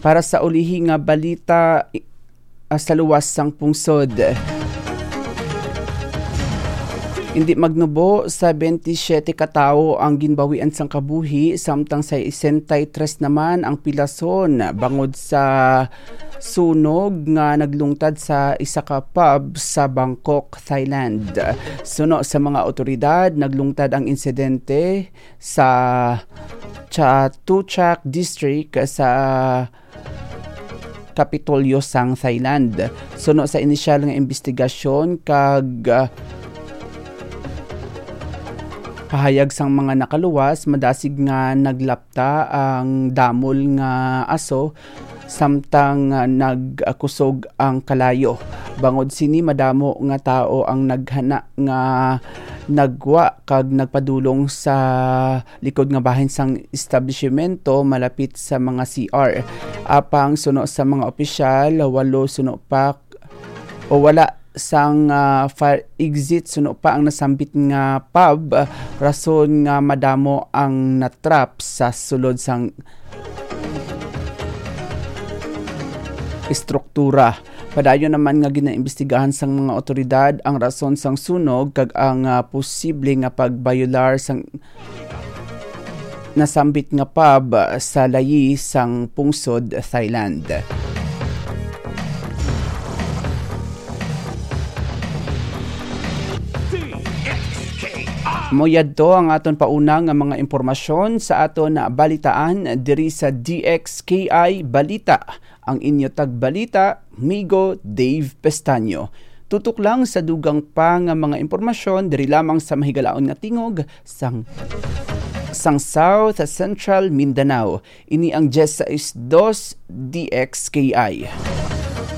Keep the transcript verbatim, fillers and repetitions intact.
Para sa ulihi nga balita, i-, ah, sa luwas sang pungsod. Indi magnubo, sa twenty-seven ka tawo ang ginbawian sang kabuhi, samtang sa sesenta y tres naman ang pilason bangod sa sunog nga naglungtad sa isa ka pub sa Bangkok, Thailand. Suno sa mga awtoridad, naglungtad ang insidente sa Chatuchak District sa Kapitolyo sang Thailand. Suno sa inisyal nga imbestigasyon kag, ah, pahayag sang mga nakaluwas, madasig nga naglapta ang damol nga aso samtang, ah, nagkusog ang kalayo. Bangod sini, madamo nga tawo ang naghana nga nagwa kag nagpadulong sa likod nga bahin sang establishmento malapit sa mga C R. Apang suno sa mga opisyal, walo suno pa o wala sang, ah, fire exit suno pa ang nasambit nga pub, ah, rason nga madamo ang natrap sa sulod sang estruktura. Padayon naman nga ginaimbestigahan sang mga awtoridad ang rason sang sunog kag ang, ah, posible nga pagbayolar sang nasambit nga pub sa layi sang pungsod Thailand. Mo yadto ang aton pauna nga mga impormasyon sa aton balitaan diri sa D X K I Balita. Ang inyo tagbalita, Migo Dave Pestaño. Tutok lang sa dugang pa nga mga impormasyon diri lamang sa mahigalaon nga tingog sang, sang South Central Mindanao. Ini ang diyes sais dos D X K I.